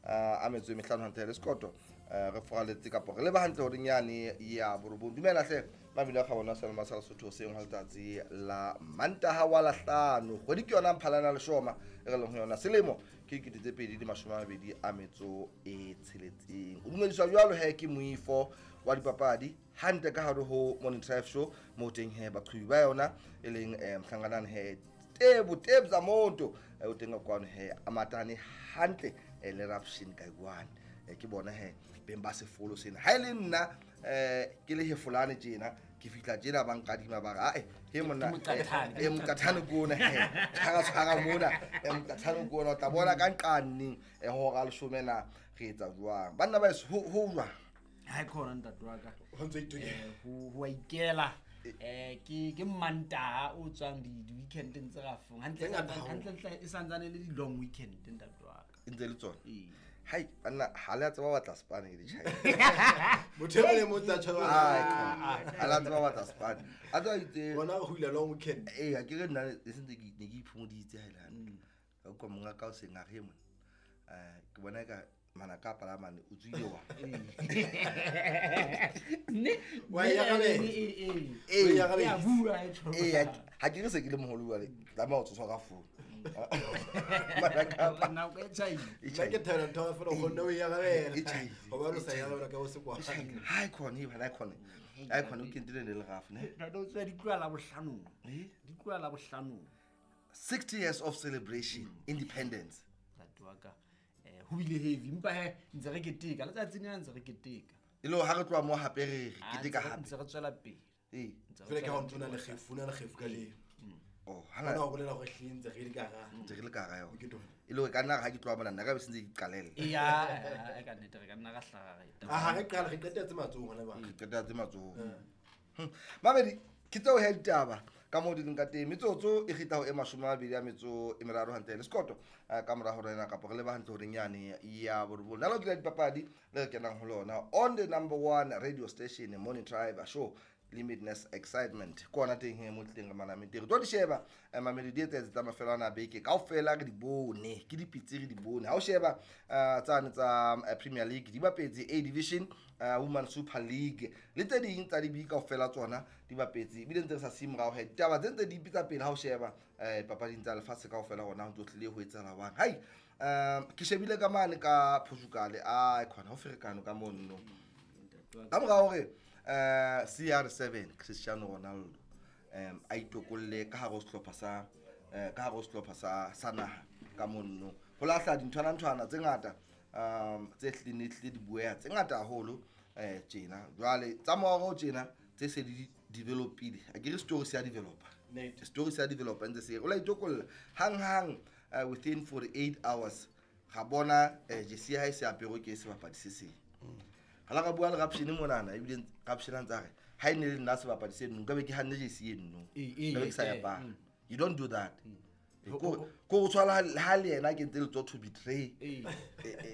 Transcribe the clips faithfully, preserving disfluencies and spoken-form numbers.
a metso e mehlano hantle le sekoto re foraletse kapo re leba hantle horeng yane ya borobong. Dumela hle mabile a kgabona sa lema sa Lesotho seng ha letsatsi la Mantaha wa Lahlano, kgwedi ke yona Mphalana leshoma e re leng ho yona, selemo ke dikete tse pedi di mashome a mabedi a metso e tsheletseng. O dumediswa jwalo he ke moifo wa dipapadi hantle ka hare ho Morning Drive Show, mo teng he baqhubi ba yona e leng eh, Mhlanganane he Tebo Tebza Monto o teng ka kwano he amatane hantle le Rapshin Kaikwane, ke bona he beng ba sefolo sena. Ha ile nna eh ke le hefolane tjena ke fihla tjena ba nkadima ba re ae he monna e moqathane kona he tshwara tshwara mona e moqathane kona o tla bona ka nqaneng e hora leshome na re etsa jwang banna ba ho ho jwang. Ha khona ntate wa ka ho ntse itokela ho ho ikela eh ke ke Mantaha o tswang di di weekend ntse ra fong hantle hantle hantle e santsane le di long weekend ntate wa ka ntse le tsona. Hai banna ha le a tseba batla Spain ke ditjhae motho e le motsa tjhaba ha le a tseba batla Spain a tswa itse bona go hula long weekend eh ha ke re nna e sentse ke ne ke iphomoditse ha ile hantle ka kwa monga ka o seng a re mona eh ke bona ka mana ka pala mane o tswile wa ne wa ya ka be eh ya ka be ya bua e tjho eh ha ke re se ke le moholo wa le tlameha o tsoswa ka phone mana ka na o e tjhaile nna ke thela ntho fela o kgonne o ya ka bela e o ba lo sa ya ka o se kwa ha khona e bana khona ha khona o kentile le legafu ne ntate o tswa di tloha la bohlanong eh di tloha la bohlanong sixty years of celebration independence ntate wa ka eh ho bile heavy mpa he ntse re keteka letsatsi lena ntse re keteka e le ha re tloha mo hape re keteka hape ntse re tswela pele eh fela ke ha o ntona le kgefu na le kgefu ka le oh hana o bolela hore hle ntse re le ka ra ntse re le ka ra yona e le ka nna ha ke tloha mona nna ka be sentse ke qalelle ya ka nnete re ka nna ra hlaga re a ha re qala re qetetse matsohong hona ba re qetetse matsohong mabedi ke tseo he ditaba ka mo di leng ka teng metsotso e kgitla ho e mashome a mabedi a metso e meraro hantle le sekoto ka mora hore ena kapa re leba hantle horeng yane ya borobong. Nalo ke la dipapadi le re kenang ho lona on the number one radio station Morning Tribe Show Limitless Excitement ke ona teng he mo tleng re manamete re tlo di sheba mamedi di etsetse tsa mafelo ana beke kaofela re di bone ke dipitse re di bone ha o sheba tsane tsa Premier League di bapetse A Division Women Super League le tse ding tsa dibi kaofela tsona di bapetse ebile ntse re sa siye morao he ditaba tse ntse di ipitsa pele ha o sheba papading tsa lefatshe kaofela hona ho ntso tlile ho etsahala jwang. Hai ke shebile ka mane ka Portugal ai khona ho ferekano ka monno ka mora hore Uh, C R seven Cristiano Ronaldo um a itokolle ka hare ho sehlopha sa ka hare ho sehlopha sa sa naha ka monno ho lahla dinthwana nthwana tse ngata um tse hlileng hlile di bueha tse ngata haholo eh tjena jwale tsa morao tjena tse se di developile a ke re story se ya developer story se ya developer ntse se o la itokolla hang hang within forty-eight hours ga bona jersey ha e se apero ke sebapadi se seng. Hala ka bua le Rapshini monana ebile Rapshini ntse re ha ene le nna sebapadi se nno nka be ke hanne jersey eno nka be ke sa ya pa. You don't do that. Ko ko tshwala ha le yena ke ntse le tswa to betray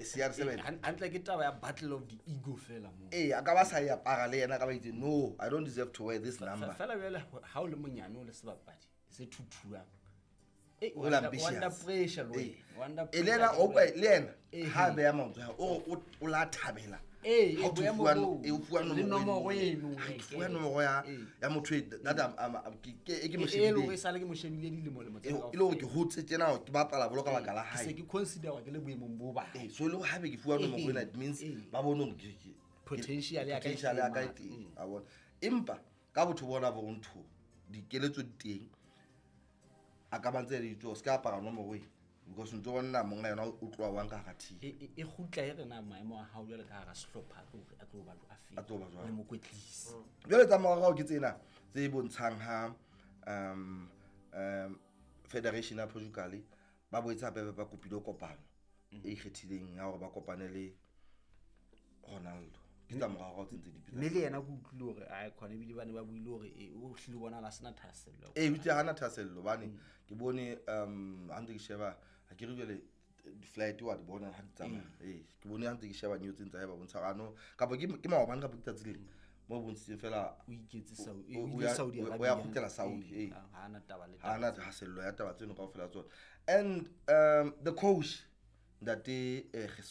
C R seven hantle ke taba ya battle of the ego fela mo eh a ka ba sa ya para le yena ka ba itse no I don't deserve to wear this number fela jwale ha o le monyane o le sebapadi se thuthuang eh o under pressure lo under e le yena o le yena ha be ya maoto o o la thabela eh e o fuwa nomoro eno fuwa nomoro ya ya motho that am ke e ke mo e shebile le sale ke mo shebile dilemo lemo tse e le hore ke hotse tjena ke bapala bolo ka baka la ke hae se ke consider ke le boemong bo ba eh so le haebe ke fuwa nomoro ena it means ba bone hore ke potential ya ka potential ya ka e teng a bona empa ka botho bona bo ntho dikeletso di teng a ka ba ntse le itse o ska apara nomoro e because ntse bona monga yona o tloa wang ka hara team e e kgutla e rena maemo a hao jwale ka hara sehlopha a tlo a tlo ba a fe a tlo ba jwang le mokwetlisi jwale tsa morao ke tsena tse bontshang ha um um Federation ya Portugal ba boetse hape ba kopile kopano e ikgethileng ya hore ba kopane le Ronaldo ke tsa morao tse ntse di mme le yena ke utlwile hore a khona ebile ba ne ba buile hore e o hlile bona la sena thahasello eh o itse hana thahasello bane ke bone um ha ntse ke sheba ha ke re jwale di-flight wa di bona ha di tsamaya eh ke bone ha ntse ke sheba news tse tsa ba bontsha ano kapa ke ke maobane kapa ke tsatsi le mo bontshitseng fela o iketse Saudi o o ile Saudi Arabia o ya kgutlela Saudi eh ha ana taba le ha ana thahasello ya taba tseno kaofela tsona and um the coach ntate Jesus